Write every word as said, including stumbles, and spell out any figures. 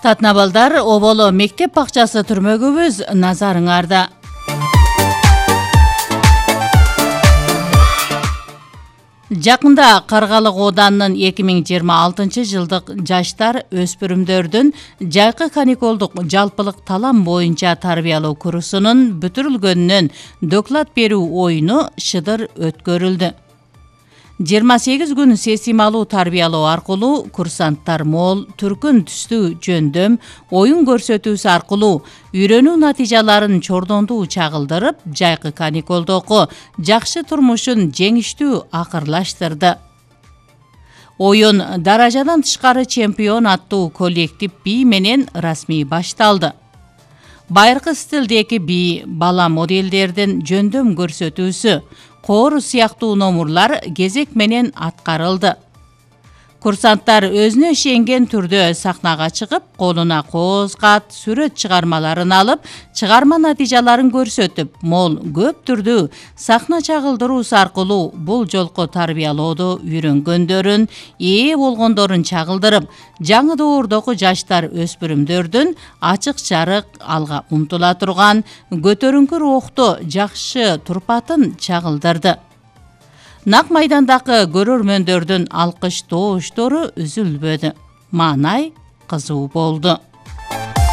Татнабалдар Оболо мектеп бакчасы түрмөгүбүз назарыңарда. Жакында Каргалык Оданынын эки миң жыйырма алтынчы жылдык жаштар өспүрүмдөрдүн жайкы каникулдук жалпылык талам боюнча тарбиялоо курсунун бүтүрүлгөнүнөн доклад берүү оюну шыдыр өткөрүлдү. жыйырма сегиз күн сесималуу тарбиялоо аркылуу курсанттар мол, түркүн түстүү жөндөм, оюн көрсөтүүсү аркылуу үйрөнүү натыйжаларын чордондуу чагылдырып, жайкы каникулдогу жакшы турмушун жеңиштүү акырлаштырды. Оюн даражадан тышкары чемпион аттуу коллектив бий менен расмий башталды. Байыркы стилдеги бий, бала моделдердин жөндөм көрсөтүүсү, коору сыяктуу номурлар кезек менен аткарылды. Курсанттар өзүнө ишенген түрдө сахнага чыгып, колуна кооз кат, сүрөт чыгармаларын алып, чыгарма натыйжаларын көрсөтүп, мол көп түрдүү сахна чагылдыруусу аркылуу бул жолку тарбиялоодо үйрөнгөндөрүн, ээ болгондорун чагылдырып, жаңы доордогу жаштар өспүрүмдөрдүн ачык чарык, алга умтула турган, көтөрүңкү рухту жакшы турпатын чагылдырды. Нак майдандагы көрөрмөндөрдүн алкыш тооштору үзүлбөдү. Маанай кызуу болду.